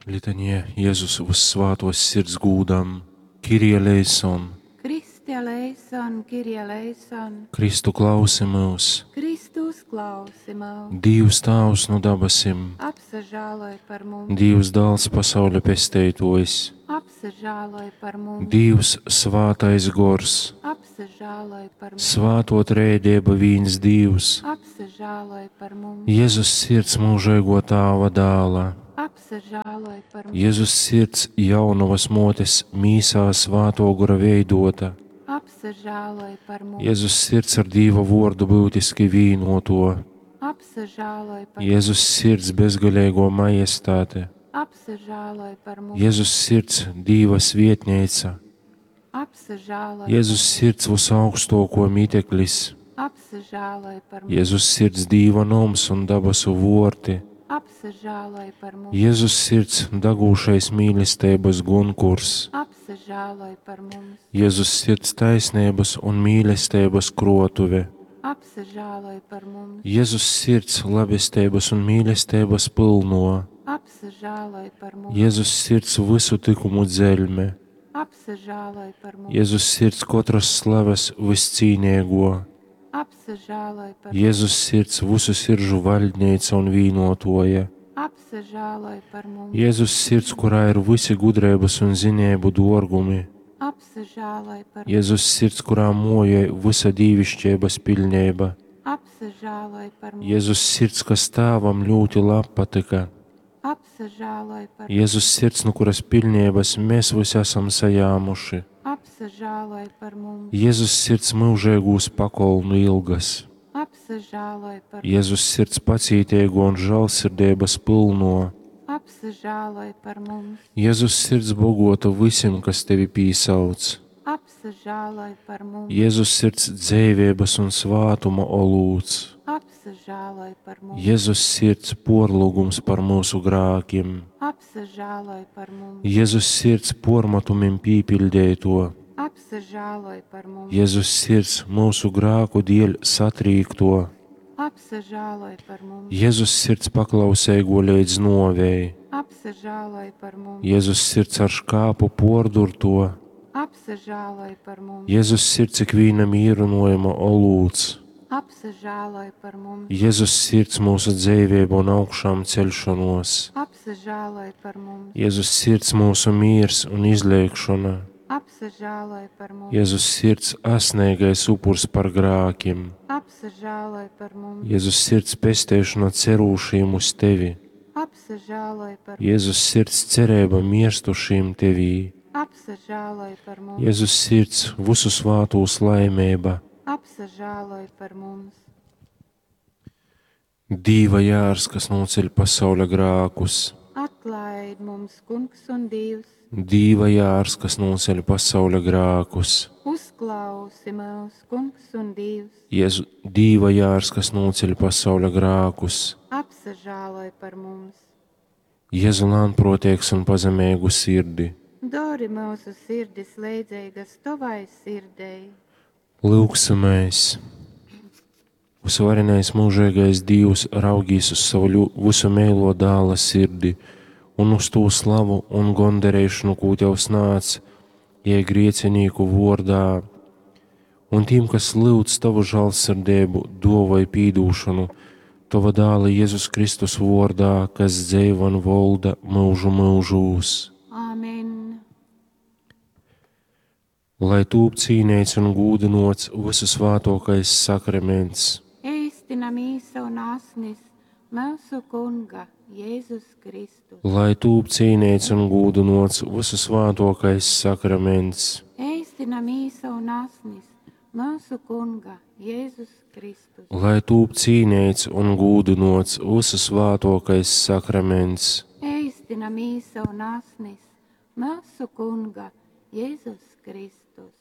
Litanija Jezus vyssvātuos sirds gūdam, Kyrie eleison, Christe eleison, Kyrie eleison, Kristu klausi myus, Kristu uzklausi myus, Dīvs Tāvs nu dabasim, apsažāloj par mums, Dīvs Dāls pasauļa pesteituojs, apsažāloj par mums, Dīvs Svātais Gors, apsažāloj par mums, Svātuo Trejdieba vīns Dīvs, apsažāloj par mums, Jezus sirds myužeiguo Tāva dāla, apsažāloj par mums, Jezus sirds jaunovas muotes mīsā Svātuo Gora veidota, apsažāloj par mums, Jezus sirds ar Dīva vuordu byutiski vīnuotuo, apsažāloj par Jezus sirds bezgaleiguo majestāte, apsažāloj par mums, Jezus sirds Dīva svietneica, apsažāloj, Jezus sirds vysaugstuokuo miteklis, apsažāloj par mums, Jezus sirds Dīva noms un dabasu vuorti, apsažāloj par mums, Jezus sirds dagūšais mīlesteibys gunkurs, apsažāloj par mums, Jezus sirds taisneibys un mīlesteibys kruotuve, apsažāloj par mums, Jezus sirds labesteibys un mīlesteibys pylnuo, apsažāloj par mums, Jezus sirds vysu tykumu dzeļme, apsažāloj par mums, Jezus sirds kotras slaves vyscīneiguo, apsažāloj par mums, Jezus sirds vysu siržu vaļdneica un vīnuotuoja, apsažāloj par mums, Jezus sirds, kurā ir vysi gudreibys un zineibu duorgumi, apsažāloj par mums, Jezus sirds, kurā muojoj vysa dīviškeibys piļneiba, apsažāloj par mums, Jezus sirds, kas Tāvam ļūti labpatyka, apsažāloj par mums, Jezus sirds, nu kuras piļneibys mēs vysi asam sajāmuši, apsažāloj par mums, Jezus sirds myužeigūs pakolnu ilgas, apsažāloj par mums, Jezus sirds pacīteigo un žālsirdeibys pylno, apsažāloj par mums, Jezus sirds bogota vysim, kas tevi pīsauc, apsažāloj par mums, Jezus sirds dzeiveibys un svātuma olūts, apsažāloj par mums, Jezus sirds puorlyugums par myusu grākim, apsažāloj par mums, Jezus sirds puormatumim pīpiļdeituo, apsažāloj par mums, Jezus sirds myusu grāku dieļ satrīkto, apsažāloj par mums, Jezus sirds paklauseigo leidz nuovei, apsažāloj par mums, Jezus sirds ar škāpu puordurto, apsažāloj par mums, Jezus sirds ikvīna mīrynojuma olūts, apsažāloj par mums, Jezus sirds myusu dzeiveiba un augšām ceļšonuos, apsažāloj par mums, Jezus sirds myusu mīrs un izlēkšona, apsažāloj par mums, Jezus sirds asneigais upurs par grākim, apsažāloj par mums, Jezus sirds pesteišona cerūšīm uz tevi, apsažāloj par mums, Jezus sirds cerība mirstušīm tevī, apsažāloj par mums, Jezus sirds visu svātūs laimeiba, apsažāloj par mums, Dīva jārs, kas noceļ pasauļa grākus, atlaid mums, Kungs un Dievs, Dīva jārs, kas noceļ pasauļa grākus, uzklausi mūs, Kungs un Dievs, Jēzu, Dīva jārs, kas noceļ pasauļa grākus, apsažāloj par mums. Jēzu lānprotēks un pazemīgu sirdi. Dori mūsu sirdis leidzīgas tavai sirdei. Lūksimies! Visvarenais mūžīgais Dievs raugīs uz savu visu meilo dāla sirdi un uz tū slavu un gondarēšanu, kū tev snāc, jai griecinīku vordā, un tiem, kas lūdz tavu žālsirdību, dovai pīdūšanu, tava dāla Jēzus Kristus vordā, kas dzeivo un volda mūžu mūžūs. Āmen. Lai tūp cīnīts un gūdinots visu svātokais sakraments. Eistina mīsa un asnis mūsu Kunga Jēzus Kristus. Lai tūp cīnīts un gūdinots visu svātokais sakraments. Eistina mīsa un asnis mūsu Kunga Jēzus Kristus. Lai tūp cīnīts un gūdinots visu svātokais sakraments. Eistina mīsa un asnis mūsu Kunga Jēzus Kristus.